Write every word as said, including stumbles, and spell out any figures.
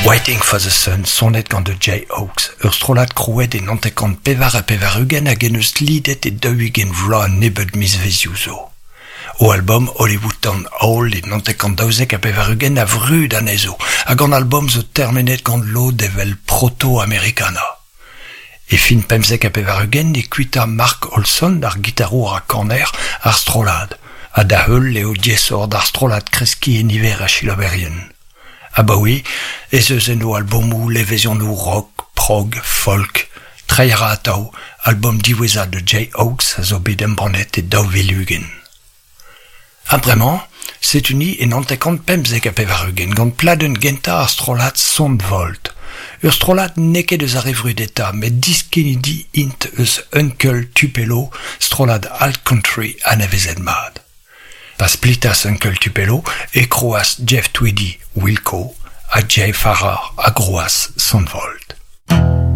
Waiting for the Sun sonet gant The Jayhawks, ur strollad krouet e naontek pevar ha pevar-ugent hag en eus lidet e daou-ugent vloaz nebeud mizvezioù zo. O album Hollywood Town Hall e naontek daouzek ha pevar-ugent a vrud anezho, hag an album zo termenet gant lod evel proto-americana. E fin pemzek ha pevar-ugent e kuita Mark Olson ar gitarour ha kaner ar strollad, ha da heul eo diaesoc'h d'ar strollad kreskiñ e niver a selaouerien. Abaoe ez eus en o albomoù levezonoù rock, prog, folk, treiñ a ra atav, album diwezhañ The Jayhawks a zo bet embannet e daou vil ugent. Ha bremañ, setu-ni e naontek pemzek ha pevar-ugent gant pladenn gentañ ar strollad Son Volt. Ur strollad n'eo ket eus ar re vrudetañ, met diskennidi int eus Uncle Tupelo, strollad alt country anavezet mat. Pa splitas Uncle Tupelo e krouas Jeff Tweedy Wilco ha Jay Farrar a grouas Son Volt.